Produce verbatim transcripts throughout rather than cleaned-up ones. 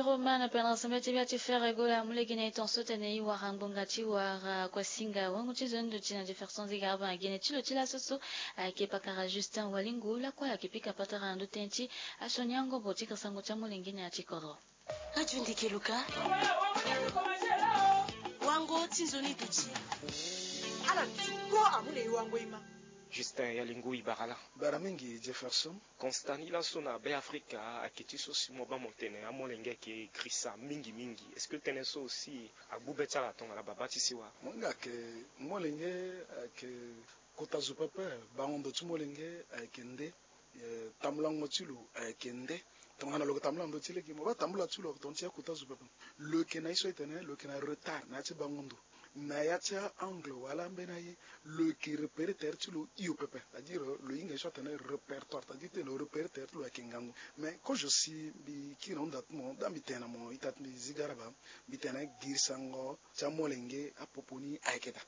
Roman pendra sambela ti bia ti fere gola amu lege na e tonso tene e wara ngbonga ti wara kuasinga wango ti zo ndo ti na Jefferson Zigaraba na gene ti lo ti laso so. Ayeke pakara Justin Walingu lakue ayeke pika patara na ndo tënë ti asioni angobo ti kiri sango ti amolenge na ya ti kodro. Radio Ndeke Luka. Wango ti nzoni duti. Ala ti ko amu na e wango e ma. Justin Yalingu Ibarala. Bara mingi Jefferson. Constat ni laso na Be Afrika ayeke ti so si mo baa mo tene amolenge ayeke girisa mingi mingi. Est-ce que tënë so aussi agbu be ti ala tongana baba ti sewa? Mo hinga ayeke molenge ayeke kota zo pepe. Bango ndo ti molenge ayeke nde. Eh, tambulango ti lo ayeke nde. Tongana lo yeke tambula na ndö ti lege mo baa tambula ti lo ayeke tongana ti ya kota zo pepe. Lo yeke na ye so e tene lo yeke na retard na ya ti bango ndo. Na ya ti a-angle wala ambeni aye lo yeke repérer tere ti lo hio pepe, c'est-à-dire lo hinga ye so atene répertoire, c'est-à-dire tene lo repérer tere ti lo ayeke ngangu. Mais kozo si mbi kiri na hunda ti mo daa mbi tene na mo ita ti mbi Zigaraba, mbi tene girisango ti amolenge apopo ni ayeke daa.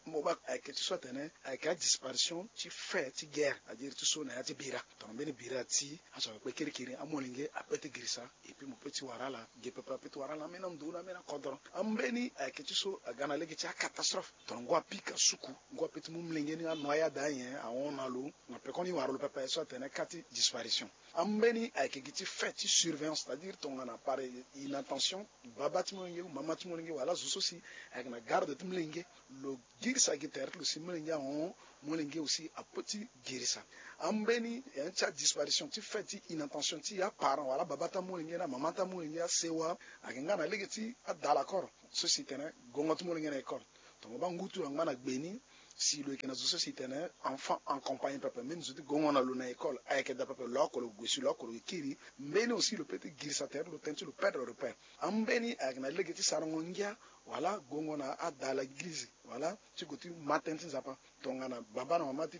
Mo baa ayeke ti so atene ayeke adisparition ti fait ti guerre, c'est-à-dire ti so na ya ti bira. Tongana mbeni bira ti aso ayeke kpe kirikiri amolenge ape ti girisa. Et puis mo pe ti wara ala ge pepe ape ti wara ala ambeni ando na ambeni akodro. Ambeni ayeke ti so aga na lege ti acatastrophe. Tongana ngu apika suku, ngu ape ti mu molenge ni anoyade anyen ahon na lo. Na pekoni wara lo pepe so atene cas ti disparition. Ambeni ayeke gi ti fait ti surveillance, c'est-à-dire tongana par inattention baba ti molenge ou mama ti molenge wala zo so si ayeke na garde ti molenge, lo girisa gi tere ti lo si molenge ahon, molenge aussi ape ti girisa. Ambeni ti adisparition ti fait ti inattention ti aparent wala baba ti amolenge na mama ti amolenge asewa ayeke nga na lege ti adala koro so si tene gongo ti molenge na école. Tongana baa ngu ti lo angba na gbe ni, si lo yeke na zo so si tene enfant en compagnie pepe, même zo ti gongo na lo na école ayeke daa pepe, lo oko lo gue si lo oko lo yeke kiri. Mbeni aussi lo pe ti girisa tere ti lo tënë ti lo perdre repère. Ambeni ayeke na lege ti sarango ngia wala gongo na adala eglize wala ti gue ti ma tënë ti Nzapa. Tongana baba na mama ti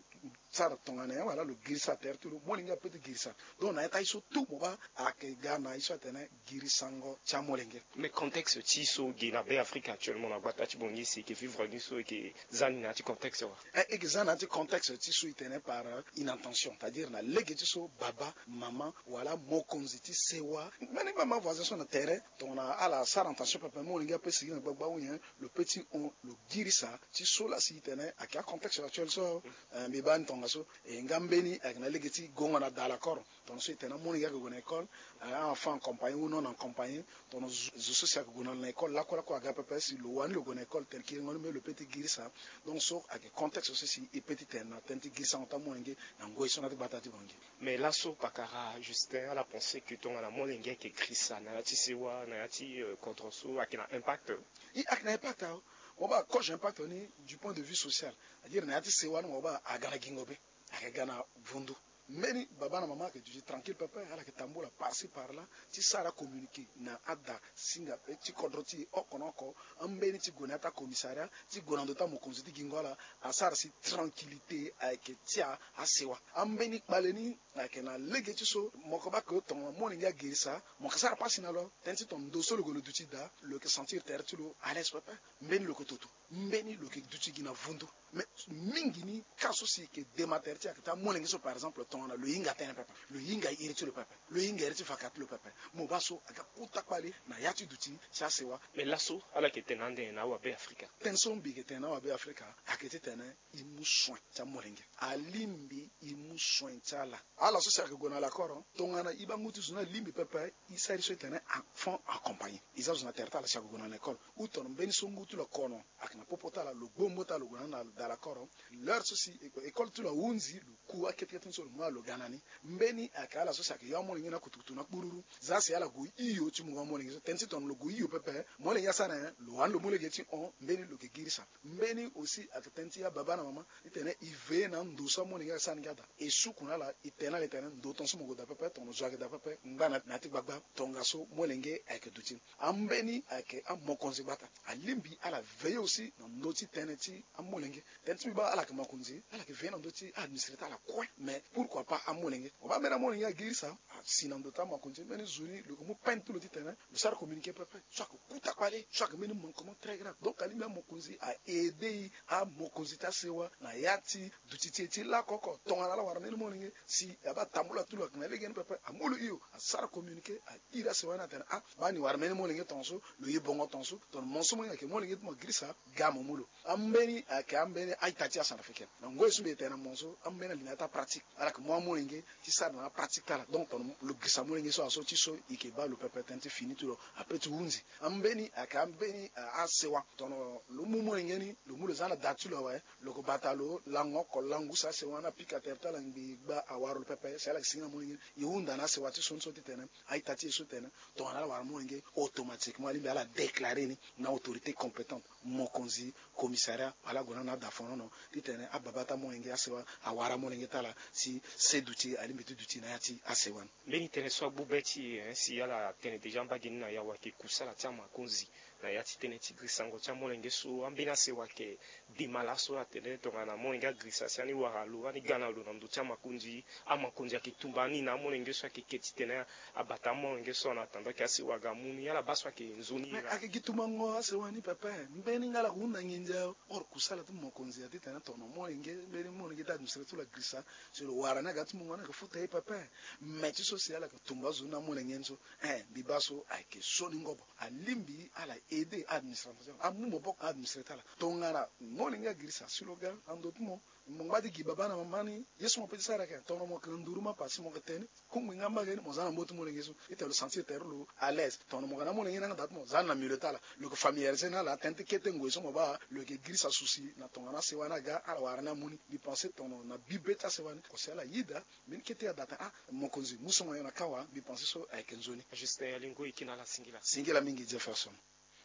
sara tongana nyen wala lo girisa tere ti lo, molenge ape ti girisa. Donc na ya ti aye so tout mo baa ayeke ga na ye so atene girisango ti amolenge. Mais contexte ti so ge na Be Afrika actuellement na gbata ti Bangui si e yeke vivre ni so e yeke za ni na ya ti contexte wa? Eh, e yeke za na ya ti contexte ti so e tene par inattention, c'est-à-dire na lege ti so baba, mama wala mokonzi ti sewa, mbeni mama voisin so na tere, tongana ala sara attention pepe molenge ape sigi na gbagba ou nyen, lo pe ti hon, lo girisa ti so laa si e tene ayeke acontexte actuel so. Eh, mbi baa ni tongaso. E nga mbeni ayeke na lege ti gongo na dala koro. Tongana so e tene amolenge ayeke gue na école, eh, a-enfant en compagnie ou non en compagnie, tongana zo so si ayeke gue na lo na école lakue lakue aga pepe si lo wani lo gue na école tene kiringo ni me lo pe ti girisa. Donc so ayeke contexte so si e pe ti tene na tënë ti girisango ti amolenge na ngoi so na ya ti gbata ti Bangui. Mais laso pakara Justin ala pense que tongana molenge ayeke girisa na ya ti sewa na ya ti, eh, kodro so ayeke na impact? I ayeke na impact awe. Mo baa kozo impact ni du point de vue social, c'est-à-dire na ya ti sewa ni mo baa aga na gingo be, ayeke ga na vundu. Mbeni baba na mama ayeke duti tranquille pepe, ala yeke tambula par ci par là ti sara communiqué na ada singa ti kodro ti e oko na oko. Ambeni ti gue na ya ti acommissariat ti gue na ndo ti amokonzi ti gingo ala, asara si tranquillité ayeke ti asewa. Ambeni kpale ni ayeke na lege ti so mo yeke baa ke tongana molenge agirisa mo yeke sara pasi na lo. Tënë ti tongana ndo so lo gue lo duti daa lo yeke sentir tere ti lo à l'aise pepe. Mbeni lo yeke toto, mbeni lo yeke duti gi na vundu. Mais mingi ni cas so si e yeke dema tere ti e ayeke ti amolenge so par exemple tongana lo hinga tënë pepe, lo hinga iri ti lo pepe, lo hinga iri ti vaka ti lo pepe. Mo baa so aga kota kpale na ya ti duti ti asewa. Mais laso ala yeke tene ande na awa Be Afrika? Tënë so mbi yeke tene na awa Be Afrika ayeke ti tene e mu soin ti amolenge. Alingbi e mu soin ti ala. Ala so si ayeke gue na lakoro tongana e baa ngu ti zo ni alingbi pepe, e sara ye so e tene enfant accompagné. E za zo na tere ti ala si ayeke gue na na école ou tongana mbeni so ngu ti lo akono ayeke na popo ti ala, lo gbongbo ti ala lo gue na ni na da lakoro. L'heure so si école ti lo ahunzi lo ku akete kete ni so lo mu ala lo ga na ni. Mbeni ayeke ala so si ayeke yo amolenge na kutukutu na kpururu. Za si ala gue hio ti mungo amolenge so, tënë ti tongana lo gue hio pepe, molenge asara nyen? Lo wani lo mu lege ti hon, mbeni lo yeke girisa. Mbeni aussi ayeke tënë ti ababa na mama ti tene e veiller na ando so amolenge asara ni nga daa. E suku na ala, e tene na ala e tene ndo tongaso mo gue daa pepe, tongana zo ayeke daa pepe ngba na ya ti gbagba. Tongaso molenge ayeke duti. Ambeni ayeke amokonzi gbata alingbi ala veiller aussi na ndö ti tënë ti amolenge. Tënë ti mbi baa ala yeke mokonzi, ala yeke veiller na ndö ti a-administrer ti ala kue. Mais pourquoi? papa amolenge. Mo baa mbeni amolenge agirisa asi na ndo ti amakonzi. Mbeni zo ni lo yeke mu peine ti lo titene lo sara communiqué pepe. So ayeke kuta kpale, so ayeke mbeni manquement très grave. Donc alingbi amokonzi a aidé amokonzi ti asewa na ya ti duti ti e ti lakoko. Tongana ala wara mbeni molenge si abaa tambula ti lo ayeke na lege ni pepe, amu lo hio, asara communiqué, a iri asewa ni atene ah, baa ni wara mbeni molenge tongaso, lo ye bongo tongaso. Tongana mo so molenge ayeke molenge ti mo agirisa, ga mo mu lo. Ambeni ayeke ambeni a-ita ti acentrafricaine. Na ngoi so mbi tene na mo so, ambeni alinéa ti apratique ala yeke mu amolenge ti sara na apratique ti ala. Donc tongana lo girisa molenge so aso ti so, e yeke baa lo pepe tënë ti fini ti lo, après ti hunzi. Ambeni ayeke ambeni asewa. Tongana lo mu molenge ni, lo mu lo za na da ti lo awe, lo yeke bata lo lango oko langu si asewa ni apika tere ti ala ngbii gbaa awara lo pepe si ala yeke sigi na molenge ni. E hunda na asewa ti so ni so titene a-ita ti e so tene tongana ala wara molenge, automatiquement alingbi ala déclarer ni na autorité compétente, mokonzi, commissariat, wala ague na ni na adafonono titene ababa ti amolenge asewa awara amolenge ti ala si se duti alingbi ti duti na ya ti asewa ni. Mbeni tënë so agbu be ti e, hein, si ala tene déjà mbage ni na yawa ayeke kusala ti amakonzi na ya ti tënë ti girisango ti amolenge so, ambeni asewa ayeke dema laso atene tongana molenge agirisa si ani wara lo, ani ga na lo na ndö ti amakonzi, amakonzi ayeke tumba ani na amolenge so ayeke ke titene abata amolenge so en attendant ke asewa aga amu ni. Ala baa so ayeke nzoni. Mais ayeke gi tumbango asewa ni pepe. Mbeni nga ala yeke hunda nginza. Or kusala ti mokonzi aye titene tongana molenge, mbeni molenge ti administré ti lo agirisa, si lo wara ni aga ti mungo ni ayeke futa ye pepe. Mais ti so si ala yeke tumba azo ni na amolenge ni so, eh, mbi baa so ayeke so ni ngobo. Alingbi ala aidé administration ti ala, amu maboko na administré ti ala. Tongana molenge agirisa si lo ga na ndö ti mo, mo ngba ti gi baba na mama ni, ye so mo peut ti sara ayeke tongana mo yeke na nduru mapa si mo yeke tene kungbi nga mbage ni, mo za na mbo ti molenge so, ita lo sentir tere lo à l'aise. Tongana mo yeke na molenge ni angba ti mo, za ni na milieu ti ala. Lo yeke familiarisé na ala tënë ti kete ngoi so mo baa lo yeke girisa souci na tongana asewa ni aga, ala wara ni amu ni. Mbi pensé tongana na bibe ti asewa ni, ko si ala yeda mbeni kete ada tene ah, mokonzi mu songo nyen na kawa. Mbi pensé so ayeke nzoni. Justin Alingo, e ke na ala singila. Singila mingi Jefferson.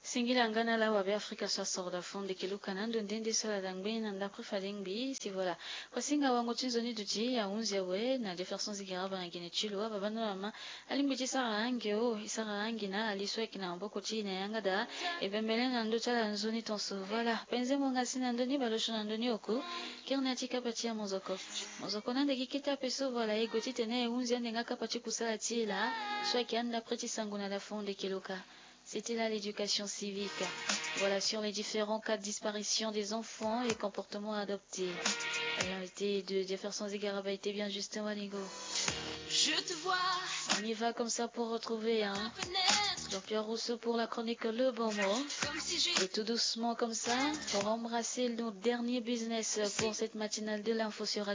Singila nga na ala wabe Afrika so asoro da fond eke luka na ando nde nde so ala da ngbeni na ndapre fade ngbii si voilà. Pasinga wango ti nzoni duti ahunzi awe na Jefferson Zigaraba na gene ti lo, ababa na mama. Alingbi ti sara ange o, e sara ange na ali so ayeke na maboko ti e na yanga daa. E bembele na ndö ti ala nzoni tonso, voilà. Penze mo nga si na ndö ni baleosio na ndö ni oko. Kiri na ya ti kapa ti amozoko. Mozoko na ande gi kete ape so, voilà, e gue titene e hunzi ande nga kapa ti kusala ti e laa. So ayeke andapre ti sango na da fond eke luka. C'était là l'éducation civique. Voilà, sur les différents cas de disparition des enfants et comportements adoptés. L'invité de Jefferson Zigaraba était bien juste Walingo. Je te vois. On y va comme ça pour retrouver, hein, Jean-Pierre Rousseau pour la chronique Le Bon Mot. Et tout doucement comme ça, pour embrasser nos derniers business pour cette matinale de l'info sur Radio